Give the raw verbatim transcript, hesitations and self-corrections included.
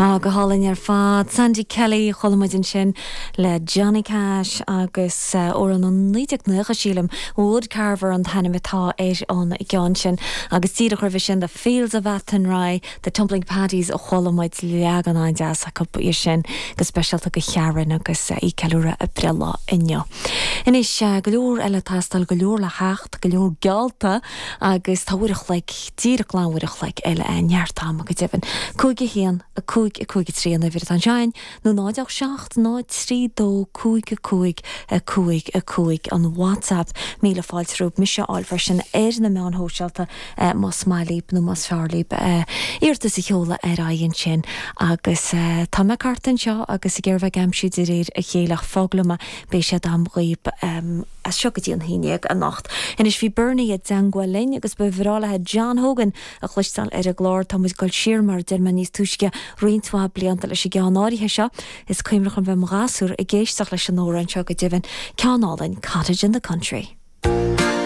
Á go hálainn ar fad Sandy Kelly chuala muid ansin le Johnny Cash agus uh, amhrán naoi déag nócha sílim Woodcarver an t-ainm atá ar an gceann sin agus díreach roimhe sin the Fields of Athenry the Tumbling Paddies a chuala muid leagan an-deas acu é sin go speisialta do Sharon agus uh, í ag ceiliúradh a breithlá inniu. Anois uh, go leor eile tástáil go leor le theacht go leor geallta agus tá uair a chloig díreach glan uair a chloig eile neart ama go deimhin. Cúig a haon a cúig a cúig trí an uimhir atá ansin nó náid a seacht náid trí dó cúig a cúig a cúig a cúig an WhatsApp míle fáilte romhaibh mise a fháil freisin ar na meáin shóisialta eh, más maith libh nó más fearr libh eh, iarratas a sheoladh ar aghaidh ansin agus eh, tá mé thart anseo agus ag iarraidh bheith ag aimsiú de réir a chéile foghlama beidh sé am dhaoibh um, as seo go dtí an haon déag anocht. Anois bhí Bernie i dteagmháil linn agus ba bhreá leis John Hogan a chloisteáil ar an gclár tá muid ag dul siar mar deir mé níos túisce roinnt mhaith blianta leis an gceann áirithe seo is cuimhneach liom bheith i mo ghasúr ag éisteacht leis an amhrán seo go deimhin ceann álainn Cottage in the Country.